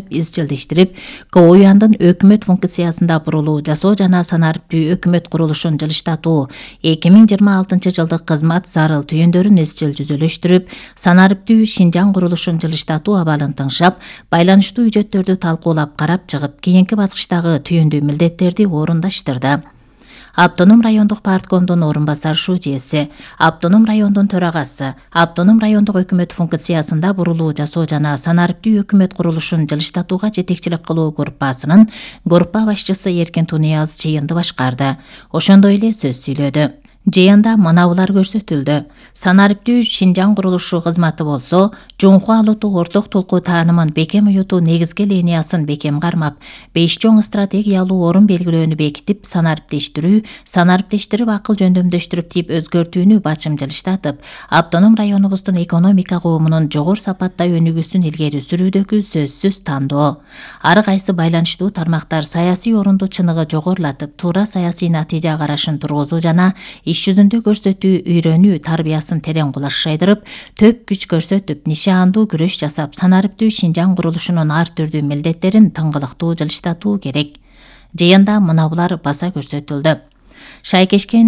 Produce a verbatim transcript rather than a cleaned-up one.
изчилдештирип, КОЮяндын өкмөт функциясында бурулуу жасоо жана санариптүү өкмөт курулушун жылыштатуу, эки миң жыйырма алтынчы жылдык кызмат зарыл түйүндөрүн изчил жүзөлөштүрүп, санариптүү Шинжаң курулушун жылыштатуу абалын тыңшап, байланыштуу үжөттөрдү талкуулап карап чыгып, кийинки баскычтагы түйүндүү милдеттерди орундаштырды. Автоном райондук парткомдун орун басар шужеси, Автоном райондун төрагасы, Автоном райондук өкмөт функциясында бурулуу жасоо жана санариптүү өкмөт курулушун жылыштатууга жетекчилик кылуу группасынын группа башчысы Эркин Тунияз жыйынды башкарды. Ошондой эле сөз сүйлөдү. Жыйында мынабулар көрсөтүлдү. Санариптүү Шинжаң курулушу кызматы болсо, жуңку алуту орток толку таанымын бекем уютуу негизги линиясын бекем кармап, беш чоң стратегиялуу орун белгилөөнү бекитип, санариптештирүү, санариптештирип акыл жөндөмдөштүрүп тип өзгөртүүнү бачым жылыштатып, автоном районубуздун экономика куумунун жогору сапатта өнүгүүсүн илгери сүрүүдөгү сөзсүз тандоо. Ар кайсы байланыштуу тармактар саясий орунду чыныгы жогорулатып, туура саясий натыйжа карашын тургузуу жана иш жүзүндө көрсөтүү, үйрөнүү тарбиясын терең кулаш жайдырып, төп күч көрсөтүп, нишаандуу күрөш жасап, санариптүү Шинжаң курулушунун ар түрдүү милдеттерин тыңгылыктуу жылыштатуу керек. Жыйында мынабулар баса көрсөтүлдү. Шайкешкен